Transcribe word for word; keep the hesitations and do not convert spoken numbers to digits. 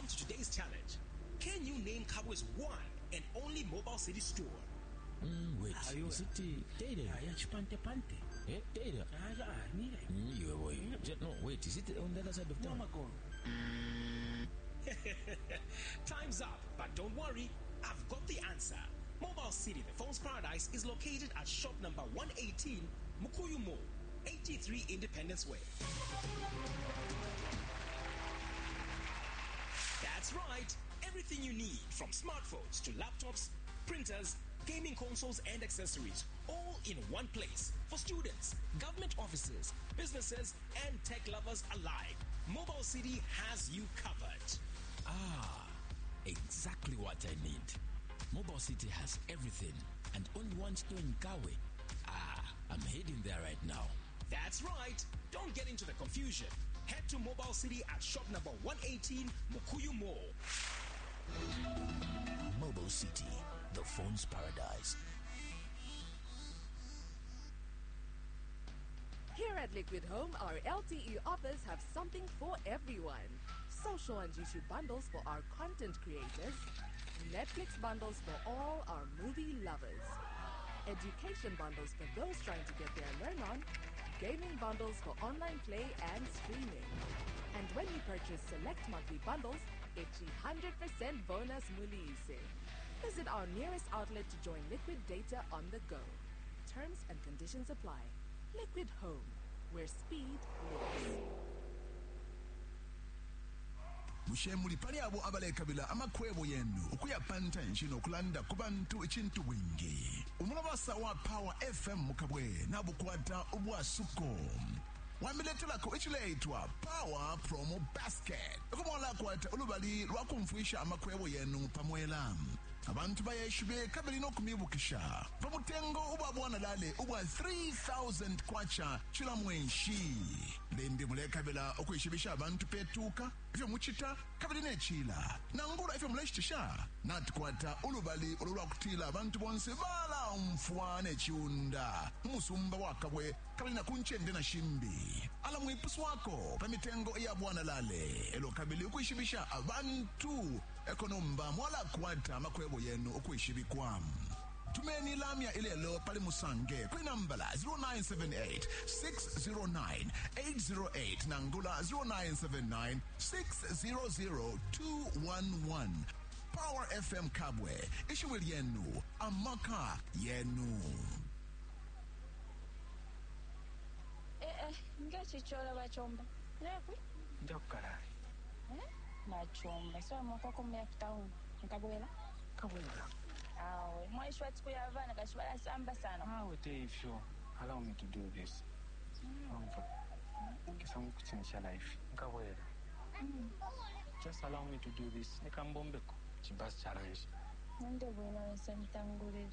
come to today's challenge. Can you name Kabwe's one and only Mobile City store? Mm, wait, Ayo. is it uh, Taylor? Aya chipante pante. Eh, Taylor. Aya nile. Mm, you boy. Ju- No, wait, is it on the other side of town? Mama Time's up, but don't worry, I've got the answer. Mobile City, the phone's paradise, is located at shop number one eighteen, Mukuyu Mall, eighty-three Independence Way. That's right, everything you need from smartphones to laptops, printers, gaming consoles and accessories, all in one place for students, government offices, businesses, and tech lovers alike. Mobile City has you covered. Ah, exactly what I need. Mobile City has everything and only one store in Kabwe. Ah, I'm heading there right now. That's right. Don't get into the confusion. Head to Mobile City at shop number one eighteen, Mukuyu Mall. Mobile City, the phone's paradise. Here at Liquid Home, our L T E offers have something for everyone. Social and YouTube bundles for our content creators, Netflix bundles for all our movie lovers, education bundles for those trying to get their learn on, gaming bundles for online play and streaming. And when you purchase select monthly bundles, it's a hundred percent bonus mulise. Visit our nearest outlet to join Liquid Data on the go. Terms and conditions apply. Liquid Home, where speed lives. Bushe muli pali abo abalekabila amakwebo yenu ukuya pantanshi nokulanda ku bantu icintu bwingi? Umulabasa wa Power F M mukabwe nabukwata ubwasuko wamiletelako icileitwa Power Promo Basket, ukumwalakwata ulubali lwakumfwisha amakwebo yenu pamwela abantu bayeshibe kabili nokumibukisha pamutengo ubwa bwana lale ubwa three thousand kwacha cila mwenshi. Limbi mulekabila ukwishibisha abantu petuka ifyo muchita kabili nechila nangula ifyo muleshitisha, natukwata ulubali ulu lwakutila abantu bonse balaumfwa nechiunda umusumba wakabwe kabili nakunchende na shimbi ala mwipuswako pa mitengo ya bwana lale elo kabili ukwishibisha abantu ekonomba mwalakwata makwebo yenu ukwishibikwa. Tumeni lamya ilelo pali musange kwi nambala zero nine seven eight, six zero nine, eight zero eight nangula zero nine seven nine, six zero zero, two one one. Power F M Kabwe, ishiwi lyenu, amaka yenu. Eh eh, ngechichola bachomba. Lekwi? Njakukalala. Eh? Machomba, so mwako kumya town. Nkabwela? Kabwela. Awe, mwaishwa tsiku ya vana kashibala samba sana. Awe te ifyo. Allow me to do this. Umva. Kisa nkuchinisha life. Nkabwela. Just allow me to do this. Nikambombeko. Chibasi challenge. Nande bwino wese mtangulira.